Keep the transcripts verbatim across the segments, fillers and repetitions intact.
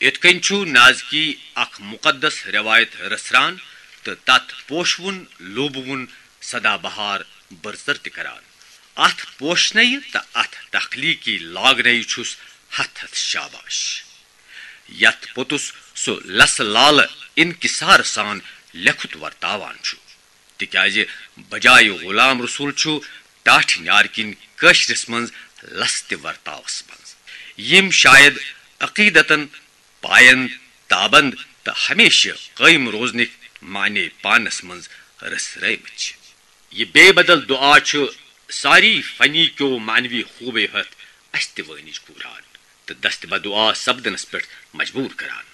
یِتھ کٔنۍ چھُ نازکی اکھ مُقدس رٮ۪وایت رژھران تہٕ تتھ پوشوُن لوٗبوُن سدا بہار بٔرژر تہِ کران۔ اتھ پوشنَے تہٕ اتھ تخلیقی لاگنَے چھُس ہتھ ہتھ شاباش، یتھ پوٚتُس سُہ لسہٕ لالہٕ انکسار سان لیکھُت ورتاوان چھُ۔ تِکیازِ بجایہِ غلام رسول چھُ ٹاٹھۍ نیارٕ کِنۍ کٲشرِس منٛز لس تہِ ورتاوس منٛز، یِم شاید عقیدتن پاین تابند تہٕ ہمیشہٕ قٲیِم روزنٕکۍ معنی پانس منٛز رٔژھرٲومٕتۍ چھِ۔ یہِ بے بدل دعا چھُ ساری فنی کیو معنوی خوبیو ہتھ اسہِ تہِ وٲنِج گوٗران تہٕ دست بدعا سپدنس پٮ۪ٹھ مجبوٗر کران۔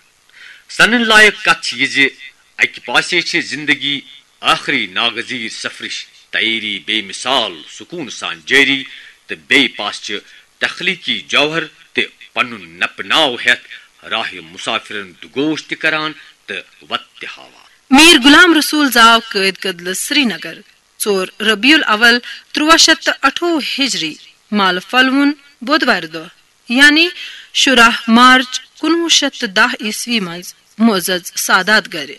سنن لایق کتھ چھِ یہِ زِ اکہِ پاسے چھِ زندگی ٲخری ناگزیر سفرٕچ تیٲری بے مثال سکون سان جٲری، تہٕ بیٚیہِ پاس چھِ تخلیقی جوہر تہِ پنُن نپہٕ ناو ہٮ۪تھ راہِ مسافرن دُگوش تہِ کران تہٕ وتہٕ تہِ ہاوان۔ میر غلام رسول زاو قٲد کدلہٕ سرینگر، ژور ربیع الاول، ترٛواہ شیٚتھ تہٕ اَٹھووُہ ہجری، مالہٕ پھلوُن بودوارِ دۄہ، یعنی شُراہ مارچ کُنوُہ شیٚتھ تہٕ دَہ عیسوی منٛز معزز سادات گرِ۔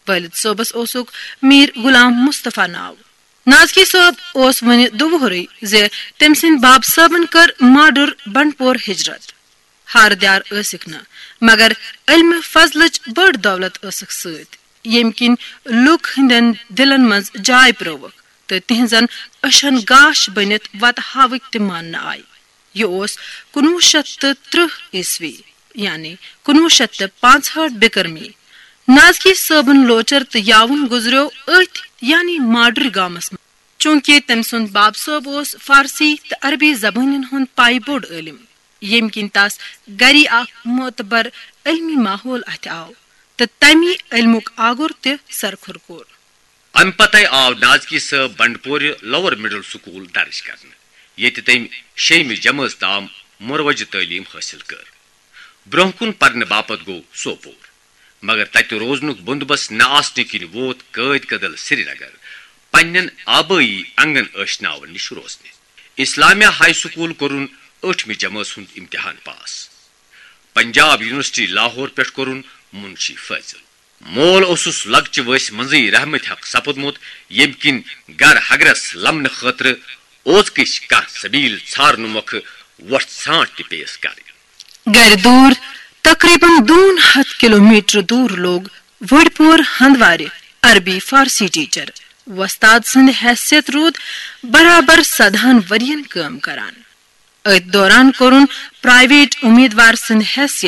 والد صٲبس اوسُکھ میر غلام مصطفیٰ ناو۔ نازکی صٲب اوس وُنہِ دُوہرٕے زِ تٔمۍ سٕنٛدۍ باب صٲبن کٔر ماڈُر بنڈپور ہجرت۔ ہارٕ دیار ٲسِکھ نہٕ، مگر علمِ فضلٕچ بٔڑ دولت ٲسٕکھ سۭتۍ، ییٚمہِ کِنۍ لوٗکھ ہٕنٛدٮ۪ن دِلن منٛز جاے پرٛٲوٕکھ تہٕ تِہنٛزن أچھن گاش بٔنِتھ وتہٕ ہاوٕکۍ تہِ ماننہٕ آیہِ۔ یہِ اوس کُنوُہ شیٚتھ تہٕ ترٕٛہ عیسوی، یعنی کُنوُہ شیٚتھ تہٕ پانٛژہٲٹھ بِکرمی۔ نازکی صٲبُن لوچر تہٕ یاوُن گُزریو أتھۍ، یعنی ماڈُرۍ گامس منٛز۔ چوٗنٛکہِ تٔمۍ سُنٛد باب صٲب اوس فارسی تہٕ عربی زبٲنٮ۪ن ہُنٛد پایہِ بوٚڑ عٲلِم، ییٚمہِ کِنۍ تس گری اکھ معتبر علمی ماحول اَتھِ آو تہٕ تَمی علمُک آگُر تہِ سرخُر کوٚر۔ امہِ پتے آو نازکی صٲب بنڈپورِ لوور مڈل سکول درج کرنہٕ، ییٚتہِ تٔمۍ شیٚیمہِ جمٲژ تام مروجہِ تعلیٖم حٲصِل کٔر۔ برونٛہہ کُن پرنہٕ باپتھ گوٚو سوپور، مگر تتہِ روزنُک بندوبست نہ آسنہٕ کِنۍ ووت قٲد کدل سرینگر پننٮ۪ن آبٲیی انگن ٲشناون نِش روزنہِ۔ اسلامیہ ہائی سکول کوٚرُن ٲٹھمہِ جمٲژ ہُنٛد امتحان پاس۔ پنجاب یونیورسٹی لاہور پٮ۪ٹھ کوٚرُن منشی فٲضل۔ مول اوسُس لۄکچہِ وٲنٛسہِ منٛزٕے رحمتِ حق سپُدمُت، ییٚمہِ کِنۍ گرٕ ہگرس لمنہٕ خٲطرٕ اوزکٕچ کانٛہہ سبیل ژھارنہٕ مۄکھٕ وۄٹھ ژھانٛٹ تہِ پیٚیَس کرٕنۍ۔ گرِ دوٗر، تقریباً دۄن ہتھ کلومیٹر دوٗر، لوٚگ وڈپور ہندوارِ عربی فارسی ٹیچر۔ وۄستاد سٕنٛدِ حیثیت روٗد برابر سدہن ؤرین کٲم کران۔ أتھۍ دوران کوٚرُن پرائیویٹ امیدوار سٕنٛدِ حیثیت